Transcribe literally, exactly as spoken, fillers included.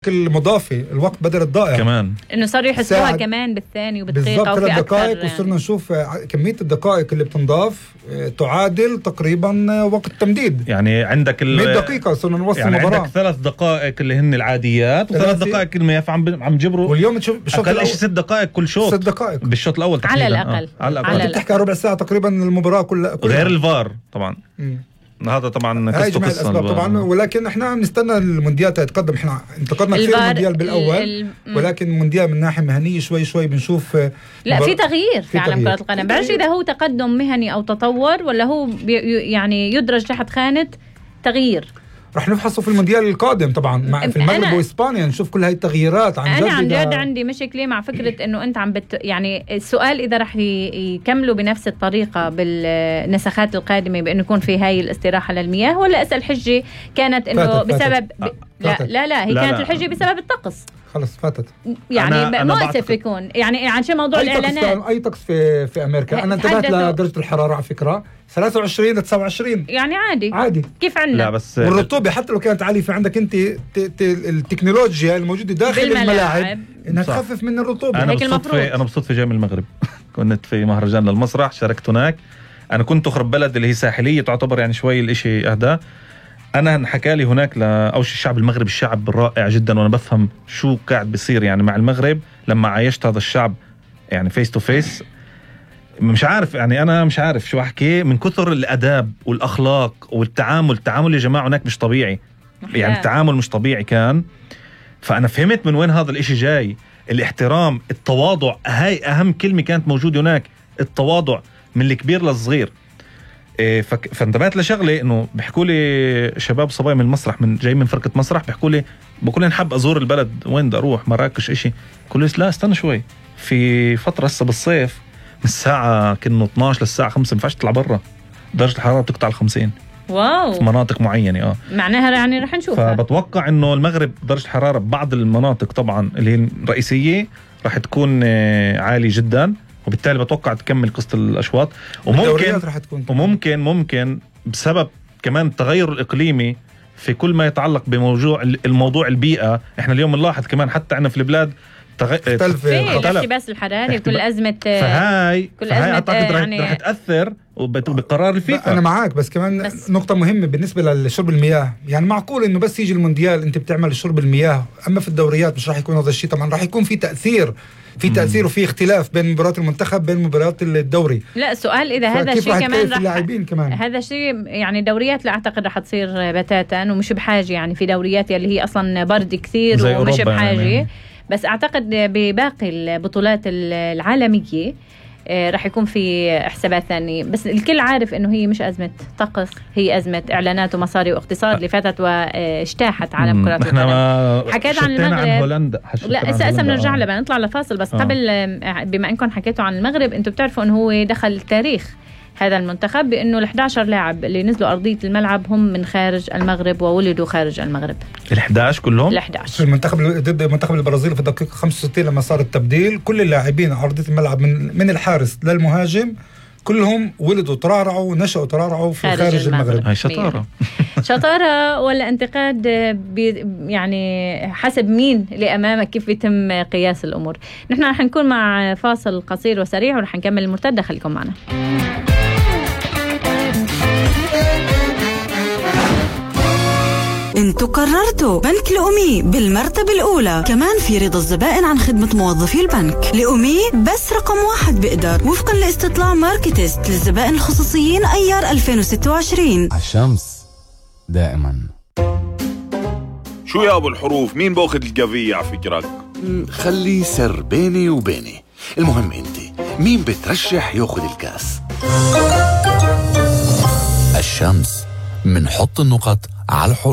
المضافي الوقت بدل الضائع كمان انه صار يحسوها كمان بالثاني وبالدقيقه وفي اكثر دقائق يعني. وصرنا نشوف كميه الدقائق اللي بتنضاف تعادل تقريبا وقت تمديد. يعني عندك مية دقيقه صرنا نوصل يعني المباراه، عندك ثلاث دقائق اللي هن العاديات وثلاث دقائق المياه عم عم جبروا، واليوم تشوف اقل شيء ست دقائق كل شوط، ست دقائق بالشوط الاول على الاقل آه. على الاقل انت بتحكي ربع ساعه تقريبا المباراه كلها كل غير الفار طبعا. م. هذا طبعا قصة قصة طبعا، ولكن احنا بنستنى المونديال تتقدم. احنا انتقدنا كثير المونديال بالاول ال... ولكن المونديال من ناحيه مهنيه شوي شوي بنشوف لا في تغيير في, في عالم كرة القدم. بعرفش اذا هو تقدم مهني او تطور ولا هو بي يعني يدرج تحت خانة تغيير. رح نفحصه في المونديال القادم طبعا مع في المغرب واسبانيا، نشوف كل هاي التغييرات. عن جد انا عن جد عندي مشكله مع فكره انه انت عم بت يعني السؤال اذا رح يكملوا بنفس الطريقه بالنسخات القادمه بانه يكون في هاي الاستراحه للمياه، ولا اسال حجه كانت انه فاتت بسبب فاتت. ب... لا, لا لا هي لا كانت لا. الحجه بسبب الطقس. خلص فاتت يعني مؤسف يكون يعني عن شيء موضوع أي الاعلانات. طقس اي طقس في في امريكا. انا انتبهت لدرجه الحراره على فكره ثلاثة وعشرين ل تسعة وعشرين يعني عادي عادي كيف عندنا. لا بس والرطوبه حتى لو كانت عاليه، في عندك انت التكنولوجيا الموجوده داخل الملاعب انها تخفف من الرطوبه. انا هيك بالصدفه انا بالصدفه جاي من المغرب كنت في مهرجان للمسرح، شاركت هناك. انا كنت اخرب بلد اللي هي ساحليه تعتبر يعني شوي الاشي اهدى. انا انحكى لي هناك لاول شيء الشعب المغربي الشعب رائع جدا، وانا بفهم شو قاعد بيصير يعني مع المغرب لما عايشت هذا الشعب يعني فيس تو فيس. مش عارف يعني انا مش عارف شو احكي من كثر الاداب والاخلاق والتعامل. التعامل يا جماعه هناك مش طبيعي، يعني التعامل مش طبيعي كان. فانا فهمت من وين هذا الاشي جاي. الاحترام، التواضع، هاي اهم كلمه كانت موجوده هناك، التواضع من الكبير للصغير. فانتبهت لشغله انه بيحكوا لي شباب صبايا من المسرح من جاي من فرقه مسرح، بيحكوا لي بقول لي حاب ازور البلد، وين بدي اروح؟ مراكش اشي؟ كل لا استنى شوي، في فتره هسه بالصيف من الساعه كنا اثناشر للساعه خمسة ما ينفعش تطلع برا، درجه الحراره بتقطع ال خمسين. واو. في مناطق معينه اه معناها يعني رح نشوفها. فبتوقع انه المغرب درجه الحراره ببعض المناطق طبعا اللي هي الرئيسيه رح تكون عالي جدا، وبالتالي بتوقع تكمل قصة الأشواط. وممكن رح تكون وممكن ممكن بسبب كمان التغير الإقليمي في كل ما يتعلق بموضوع الموضوع البيئة. احنا اليوم نلاحظ كمان حتى عنا في البلاد تختلف الاحتباس الحراري، كل أزمة فهاي كل فهاي أزمة أعتقد يعني رح تأثر بقرار الفيفا. أنا معاك، بس كمان بس نقطة مهمة بالنسبة لشرب المياه. يعني معقول إنه بس يجي المونديال أنت بتعمل شرب المياه، أما في الدوريات مش راح يكون هذا الشيء. طبعا راح يكون في تأثير في تأثير وفي اختلاف بين مباريات المنتخب بين مباريات الدوري. لا سؤال إذا هذا الشيء كمان رح كمان هذا الشيء يعني دوريات لا أعتقد رح تصير بتاتا ومش بحاجة. يعني في دوريات اللي هي أصلا برد كثير ومش بحاجة يعني. بس أعتقد بباقي البطولات العالمية رح يكون في حسابات ثانية. بس الكل عارف إنه هي مش أزمة طقس، هي أزمة إعلانات ومصاري واقتصاد اللي فاتت واجتاحت عالم كرة القدم. حكيت عن المغرب عن هولندا. لا اسا اسا بنرجع لها، بنطلع لفاصل. بس آه. قبل بما إنكم حكيتوا عن المغرب، أنتوا بتعرفوا إنه هو دخل التاريخ هذا المنتخب بأنه الإحدى عشر لاعب اللي نزلوا أرضية الملعب هم من خارج المغرب وولدوا خارج المغرب. الإحدى عشر كلهم؟ الإحدى عشر. في المنتخب ضد منتخب البرازيل في الدقيقة خمسة وستين لما صار التبديل، كل اللاعبين على أرضية الملعب من من الحارس للمهاجم كلهم ولدوا ترعرعوا ونشأوا ترعرعوا في خارج, خارج المغرب, المغرب. هاي شطارة. شطارة ولا انتقاد يعني حسب مين اللي أمامك، كيف يتم قياس الأمور. نحن رح نكون مع فاصل قصير وسريع ورح نكمل المرتدة. خليكم معنا. انتوا قررتوا بنك لأمي بالمرتبة الأولى، كمان في رضا الزبائن عن خدمة موظفي البنك. لأمي بس رقم واحد بقدر، وفقا لاستطلاع ماركتست للزبائن الخصوصيين أيار ألفين وستة وعشرين. الشمس دائما. شو يا أبو الحروف، مين باخد القضية على فكرك؟ خلي سر بيني وبيني. المهم انت مين بترشح ياخد الكاس؟ الشمس، منحط النقط على الحروف.